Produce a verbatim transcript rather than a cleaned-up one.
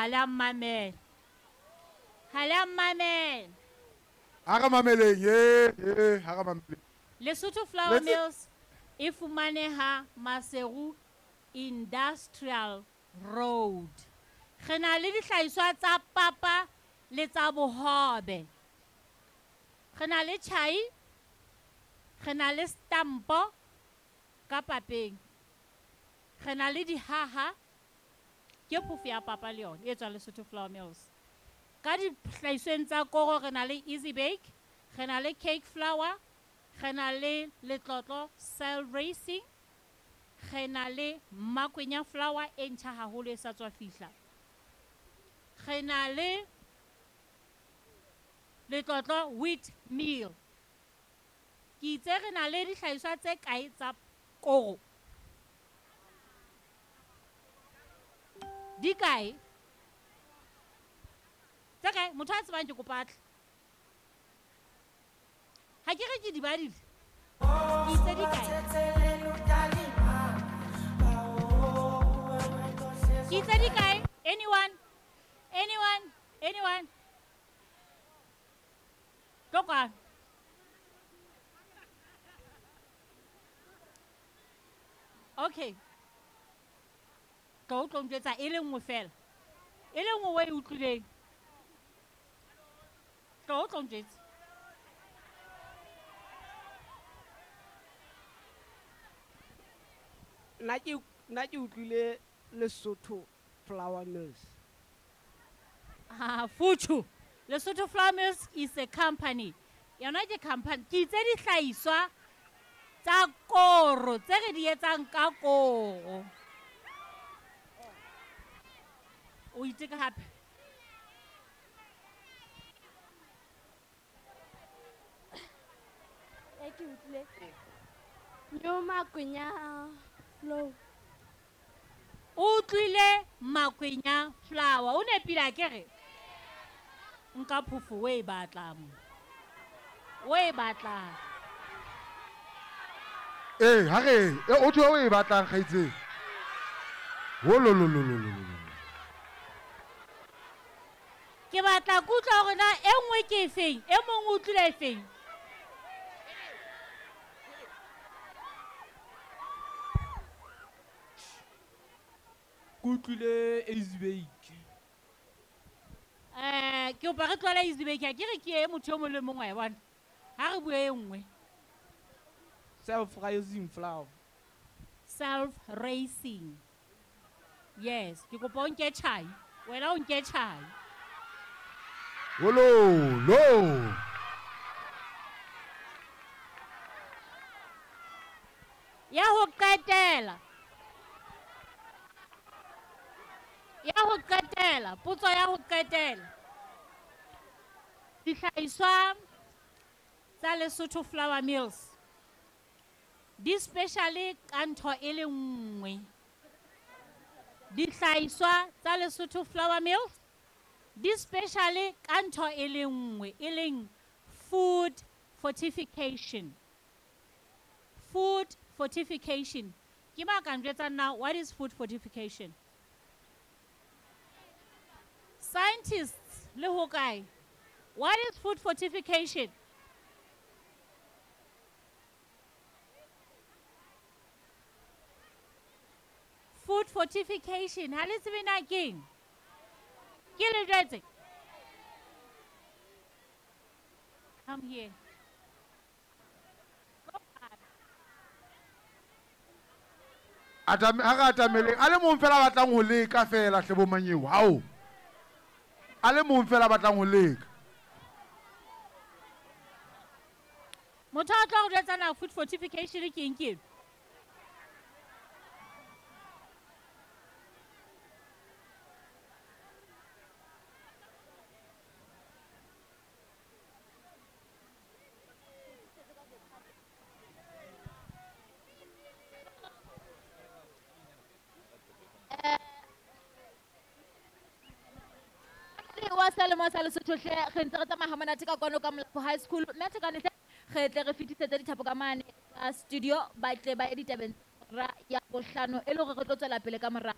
Ha le a mmamela. Ha le a mmamela. Ha re mameleng, eh, eh, ha re mameleng. Lesotho Flour Mills e fumaneha Maseru Industrial Road. Re na le dihlahiswa tsa papa le tsa bohobe. Re na le tjhai, re na le stampo ka papeng. Re na le dihaha, ke phofo ya papa le yona e tswang Lesotho Flour Mills. Ka dihlahisweng tsa koro re na le Easy Bake, re na le cake flour, re na le letlotlo cell racing, re na le makwenya flour e ntjha haholo e sa tswa fihla. Re na le letlotlo wheat meal. Ke itse re na le dihlahiswa tse kae tsa koro? Di kae? Tse kae? Motho a tsebang ke kopa a tle. Ha ke re ke di badile. Ke itse di kae? Ke itse di kae? Anyone? Anyone? Anyone? Tlo kwano. Okay. Tlo o tlo njwetsa e le nngwe fela. E le nngwe o e utlwileng. Tlo o tlo njwetsa. Nna ke, nna ke utlwile Lesotho Flour Mills. Ah, Fuchu. Lesotho Flour Mills is a company. Yona ke company. Ke itse dihlahiswa tsa koro tse re di etsang ka koro. O itse ka hape. E ke utlwile. New Makwenya flour. O utlwile Makwenya flour. O nepile akere? Nka phofo o e batlang mo. O e batlang. Eh, ha re, e, o thwe o e batlang kgaitsedi. Ho lo lo lo lo lo lo. Ke batla ke utlwa hore na e nngwe ke efeng, e mong o utlwile efeng. Ke utlwile Easy Bake. Eh, ke kopa re tlohele Easy Bake, ha ke re ke e motho e mong le mong wa e bona. Ha re bue e nngwe. Self-raising flour. Self-raising. Yes, ke kopa o nke tjhai. Wena o nke tjhai. Wolo, lo. Ya ho qetela. Ya ho qetela, potso ya ho qetela. Dihlahiswa tsa Lesotho Flour Mills di speciale ka ntho e le nngwe. Dihlahiswa tsa Lesotho Flour Mills di speciale ka ntho e le nngwe, e leng food fortification. Food fortification. Ke ba ka njwetsang na what is food fortification? Scientists le ho kae? What is food fortification? Food fortification. Ha le tsebe na keng? Ke le jwetse? Come here. Atame, ha re atameleng, a le mong fela a batlang ho leka fela hle bo Manyeo, hao. A le mong fela a batlang ho leka. Motho a tla go jwetsa na food fortification ke eng ke eng? Wa selemo sa Lesotho hle, re ntse re tsamaya ha monate ka kwano ka Molapo High School. Mme Thekane hle, re tle re fetisetse dithapo ka mane ka studio, ba tle ba ye ditabeng tsa hora ya bohlano e le hore re tlo tswela pele ka mora